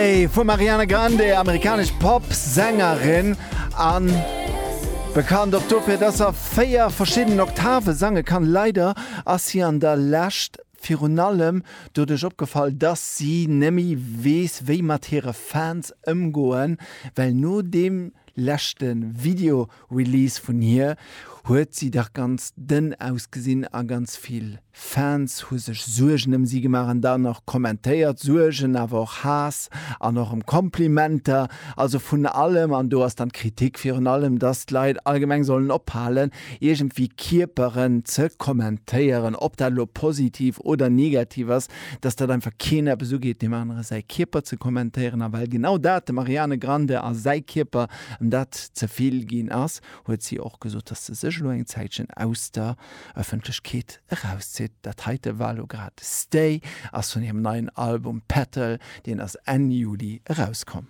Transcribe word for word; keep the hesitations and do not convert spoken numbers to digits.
Vum Ariana Grande, amerikanesch Pop-Sängerin an bekannt och dofir, dass se véier verschiddenen Oktave sange kann. Leider ass si an der Lescht virun allem doduerch opgefall, dass si net méi weess, wéi mat hire Fans ëmgoen, well no deem leschte Video-Release vun hir huet si dach ganz dënn ausgesinn a ganz vill Fans hu sech Suergen ëm si gemaach an dann och kommentéiert, Suergen, awer och Haass an och ëm Komplimenter, also vun allem. An do ass dann d'Kritik virun allem, dass d'Leit allgemeng sollen ophalen, iergendwéi Kierperen ze kommentéieren, ob dat elo positiv oder negativ ass, dass dat einfach keen eppes ugeet, deem anere säi Kierper ze kommentéieren. A well genau dat dem Ariane Grande a säi Kierper ëm dat ze vill ginn ass, huet si och gesot, dass se sech elo eng Zäitchen aus der Ëffentlechkeet erauszitt. Dat heite war elo grad Stay, ass vun hirem neien Album Petal, deen ass Enn Juli erauskomm.